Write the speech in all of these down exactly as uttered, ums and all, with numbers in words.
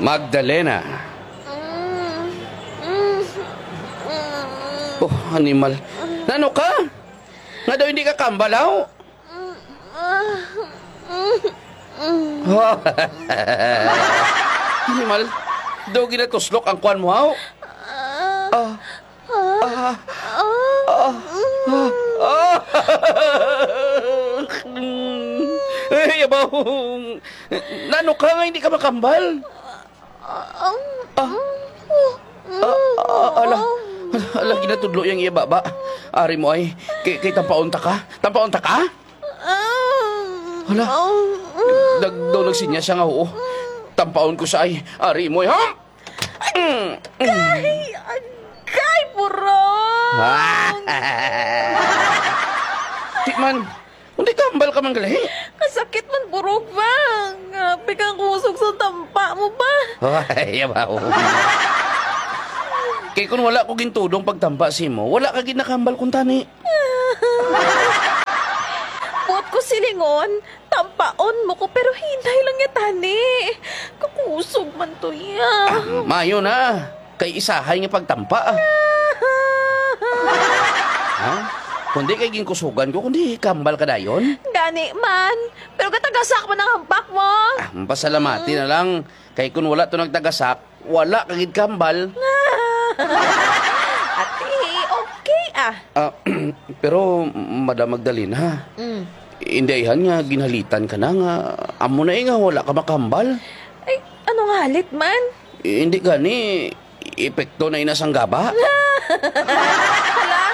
Magdalena. Oh, animal. Nano ka? Nga daw hindi ka kambal, haw? Animal. Daw ginatuslok ang kwan mo, haw? Ah. Ah. Ah. Ah. Ah. Ay, abaw. Nano ka nga hindi ka makambal? Ah. Ah. Ah, ah, ala. Ala, ginatudlo yang iya baba. Ari mo ay, kay, kay tampaon ta ka? Tampaon ta ka? Hala, nag-, daw nagsinya siya nga oo. Tampaon ko sa ay, ari mo ay, ha? Agay! Agay, burong! Di man, hindi ka hambal ka man gali. Kasakit man, burong, ba? Grabe kang kusog sa tampa mo, ba? Ay, abaw. Kay kung wala ko gintudong pagtampa sa imo, wala ka gid nakahambal kuntani. Buot ko silingon, tampaon mo ko, pero hinay lang ya tani. Kakusog man to ya. Ah, maayo na. Kay isahay nga pagtampa, ah. Ha? Kundi kay ginkusugan ko, kundi kambal ka dayon? Gani man. Pero gatagasak man ang hampak mo. Ah, mapasalamati na lang. Kay kun wala to nagtagasak, wala ka gid kambal. Ati, okay, ah. Ah, pero, Madam Magdalena, Mm. Indayhan nga ginhalitan ka na nga amo na eh nga wala ka makambal. Ay, ano nga halit man? Eh, hindi gani, epekto na ina sang gaba. Hala,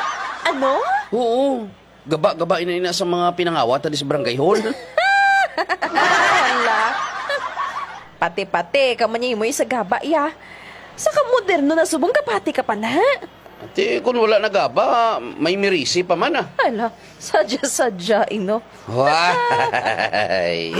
ano? Oo, gaba-gaba ina ina sa mga pinangawat di sa barangay hall. Hala. Pati-pati ka man imo sa gaba, ya. Sa ka moderno na subong kapati ka pa na. Ati, kung wala nagaba, may mirisi pa man, ah. Ala, sadya-sadya, ino. Why?